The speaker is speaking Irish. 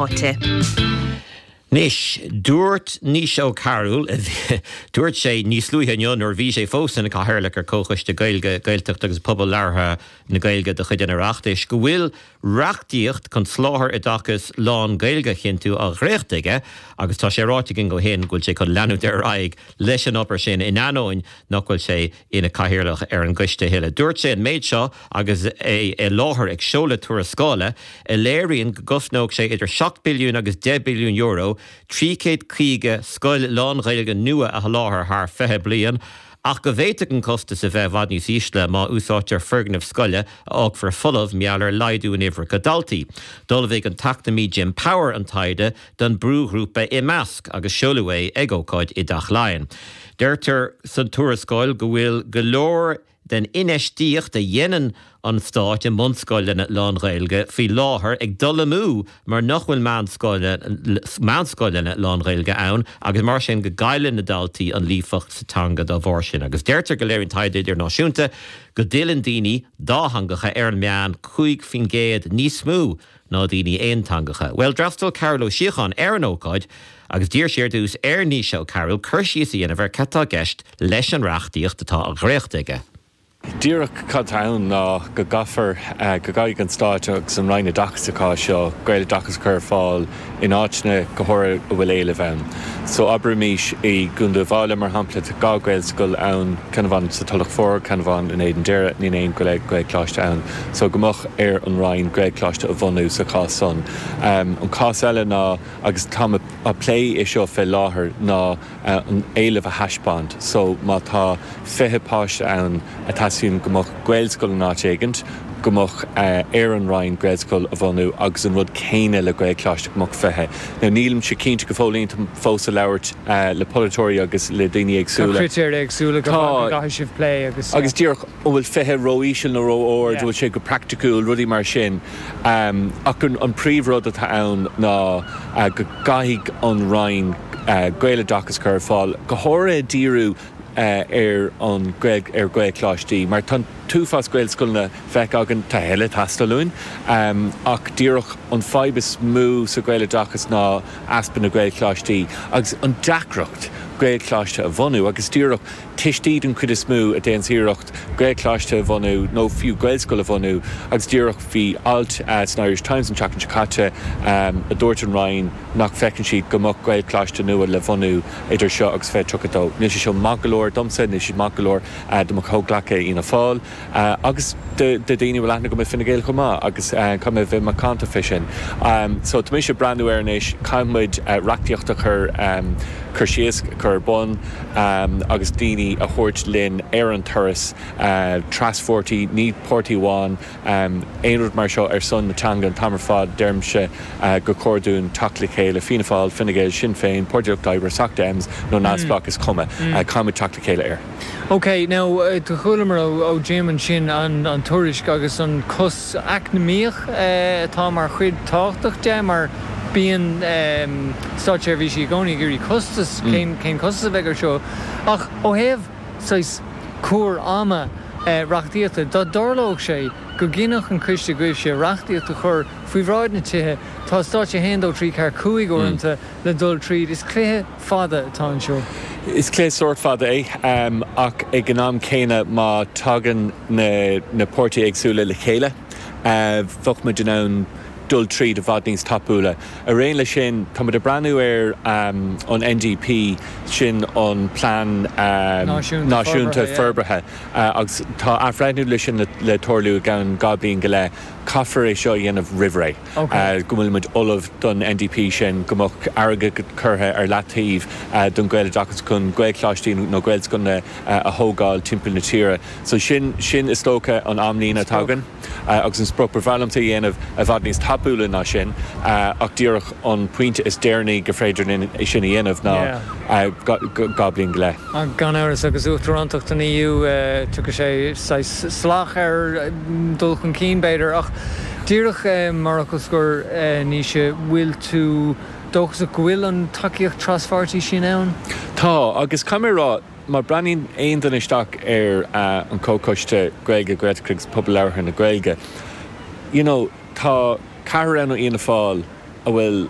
Áite. Anois, dúirt Naoise Ó Cearúil, dúirt sé níos luaithe inniu nuair a bhí sé fós ina Chathaoirleach ar Comhchoiste Gaeilge, Gaeltacht agus Pobal Labhartha na Gaeilge de chuid an Oireachtais, go bhfuil reachtaíocht chun soláthar oideachais lán-Ghaeilge a chinntiú á dhréachtú aige agus tá sé ráite againn ó shin go bhfuil sé chun leanúint ar aghaidh leis an obair sin in ainneoin nach bhfuil sé ina Chathaoirleach ar an gcoiste a thuilleadh. Dúirt sé an méid seo agus é i láthair ag seoladh tuarascála a léiríonn go gcosnódh sé idir €7 billiún agus €10 billiún 350 scoil lán-Ghaeilge nua a sholáthar thar 20 bliain ach go bhféadfadh an costas a bheith i bhfad níos ísle má úsáidtear foirgnimh scoile a fhágfar folamh mar gheall ar laghdú in uimhreacha daltaí. D'ullmhaigh an t-eacnamaí Jim Power an taighde don brúghrúpa iMeasc agus seoladh é ag ócáid i dTeach Laighean. Deirtear san tuarascáil go bhfuil go leor den infheistíocht a dhéanann an Stát i mbunscoileanna lán-Ghaeilge faoi láthair ag dul amú mar nach bhfuil meánscoileanna lán-Ghaeilge ann agus mar sin go gcailleann na daltaí an líofacht sa teanga dá bharr sin. Agus deirtear go léiríonn taighde idirnáisiúnta go dtuilleann daoine dátheangacha ar an meán 5% níos mó ná daoine aonteangacha. Bhuel, d'fhreastail Cearbhall Ó Síocháin ar an ócáid agus d'iarr sé ar dtús ar Naoise Ó Cearúil cur síos a dhéanamh ar cad tá i gceist leis an reachtaíocht atá á dhréachtú aige. Díreach cad tá ann ná go gcaithfear, go gcaithfidh an Stát agus an Roinn Oideachais sa chás seo, Gaeloideachas a chur ar fáil in áiteanna go háirithe a bhfuil éileamh ann. So abraimis i gContae Uíbh Fhailí mar shampla tá 2 Ghaelscoil ann, ceann amháin sa Tulach Mhór, ceann amháin in Éadan Doire, níl aon Ghaelcholáiste ann. So go mbeadh ar an Roinn Gaelcholáiste a bhunú sa chás san. An cás eile ná, agus táim á plé é seo fé láthair, ná an éileamh a thaispeáint. So má tá 20 páiste ann a teastaíonn go mbeadh Gaelscoil in áit éigint, go mbeadh ar an Roinn Gaelscoil a bhunú agus an rud céanna le Gaelcholáiste, go mbeadh 20. Now nílimse cinnte go fóill, táim fós ag labhairt le polaiteoirí agus le daoine Tá éagsúla. critéir éagsúla go Tá. gcaithfidh sibh plé agus. Agus díreach, an bhfuil 20 ró-íseal nó ró-ard, an bhfuil sé go praiticiúil, rudaí mar sin. Ach an príomhrud atá ann ná go gcaithfidh an Roinn Gaeloideachas a chur ar fáil, go háirithe díriú ar an ar Ghaelcholáistí, mar tá an t-uafás Gaelscoileanna feicthe againn, tá a thuilleadh ag teastáil uainn, ach díreach an fadhb is mó sa Ghaeloideachas ná easpa na Gaelcholáistí agus an deacracht Gaelcholáiste a bhunú agus díreach tuistí den chuid is mó a déananns iarracht Gaelcholáiste a bhunú nó fiú Gaelscoil a bhunú agus díreach bhí alt san Irish Times an tseachtain seo caite a dúirt an Roinn nach bhfeiceann siad go mbeadh Gaelcholáiste nua le bhunú idir seo agus 2032. Níl sé seo maith go leor domsa, níl sé maith go leor do mo chomhghleacaithe i Fhianna Fáil agus do daoine a bhfuil aithne agam i Fine Gael chomh maith agus caithfidh mé a bheith macánta fé sin. So tá mise ag breathnú air anois, caithfidh muid reachtaíocht a chur cur síos, cur ar bun agus daoine a thabhairt linn ar an turas traspháirtí, ní páirtí amháin, aon rud mar seo ar son na teanga an t-am ar fad, deirimse gur chóir dúinn teacht le chéile, Fianna Fáil, Fine Gael, Sinn Féin, Páirtí Lucht Oibre, Soc Dems nó neamhspleách, is cuma, caithfimid teacht le chéile air. Ok, now do chualamar ó Jim ansin an tuairisc agus an costas eacnamaíoch atá mar chuid tábhachtach de mar bíonn státseirbhísigh i gcónaí ag iarraidh costas, cén costas a bheidh ar seo ach ó thaobh saghas cuar ama reachtaíochta, dá dtarlódh sé go gcinnfeadh an coiste agaibhse reachtaíocht a chur faoi bhráid na Tithe, tá stáitse 1, 2, 3, 4, 5 uaireanta le dul tríd, is cluiche fada atá anseo. Is cluiche sórt fada é, ach ag an am céanna má tagann na páirtithe éagsúla le chéile, bheadh muid in ann dul tríd i bhfad níos tapúla. Ar aon leis sin, tá muid ag breathnú ar an NDP, sin an Plean Náisiúnta Forbartha, agus tá athbhreithniú leis sin le tarlú i gceann 2 bliain go leith. Caithfear é seo a dhéanamh roimh ré. go bhfuil muid ullamh don NDP sin, go mbeadh airgead curtha ar leataobh don Ghaeloideachas chun Gaelcholáistí nó Gaelscoileanna a thógáil timpeall na tíre. So sin, sin is dócha an amlíne atá againn agus an sprioc. Ba bhreá liomsa é a dhéanamh i bhfad níos tapúla ná sin ach díreach an pointe is deireanaí gur féidir linn é sin a dhéanamh ná 2 bliain go leith. Gan amhras, agus Uachtarántacht an EU, tiocfaidh sé saghas salach ar dhul chun cinn, b'fhéidir. Ach díreach mar fhocal scoir, Naoise, bhfuil tú dóchasach go bhfuil an tacaíocht traspháirtí sin ann? Tá, agus caithfidh mé a rá, má breathnaíonn aon duine isteach ar an Chomhchoiste Gaeilge, Gaeltachta agus Pobal Labhartha na Gaeilge, you know, tá ceathrar ann ó Fhianna Fáil. a bhfuil.